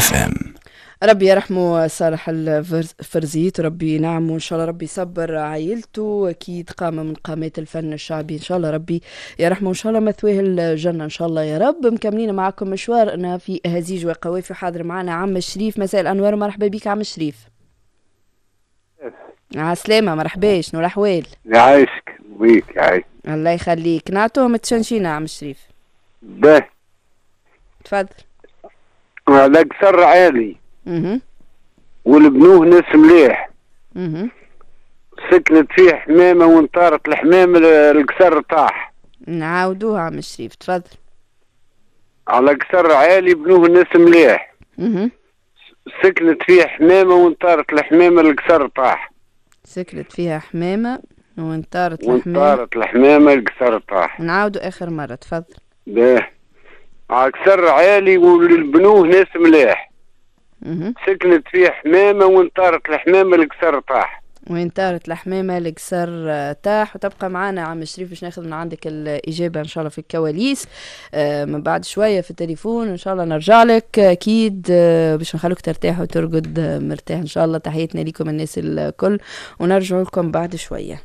FM. ربي يرحمه صالح الفرزيت، ربي ينعمه ان شاء الله، ربي يصبر عائلته، اكيد قامة من قامات الفن الشعبي، ان شاء الله ربي يرحمه، ان شاء الله مثواه الجنة ان شاء الله يا رب. مكملين معكم مشوارنا في هزيج وقوافي. حاضر معنا عم شريف، مساء الانوار، مرحبا بك عم شريف. عسلامة، مرحبا، شنو الاحوال؟ يعيشك بيك يعيش. الله يخليك، نعطوهم تشنشينا عم شريف. به. تفضل. على قصر عالي والبنوه ناس مليح. سكنت فيه حمامة وانطارت الحمامة القصر طاح. نعاودوها عم شريف، تفضل. على قصر عالي بنوه ناس مليح. سكنت فيه حمامة وانطارت الحمامة القصر طاح. سكنت فيها حمامة وانطارت الحمامة. وانطارت الحمامة القصر طاح. نعاودوا آخر مرة، تفضل. باه. على قصر عالي والبنوه ناس مليح. سكنت فيه حمامة وانطارت الحمامة القصر طاح. وين طارت الحمامة القصر طاح. وتبقى معنا عم شريف باش ناخذ من عندك الإجابة إن شاء الله في الكواليس من بعد شوية في التليفون إن شاء الله نرجع لك أكيد، باش نخلوك ترتاح وترقد مرتاح إن شاء الله. تحياتنا لكم الناس الكل ونرجع لكم بعد شوية.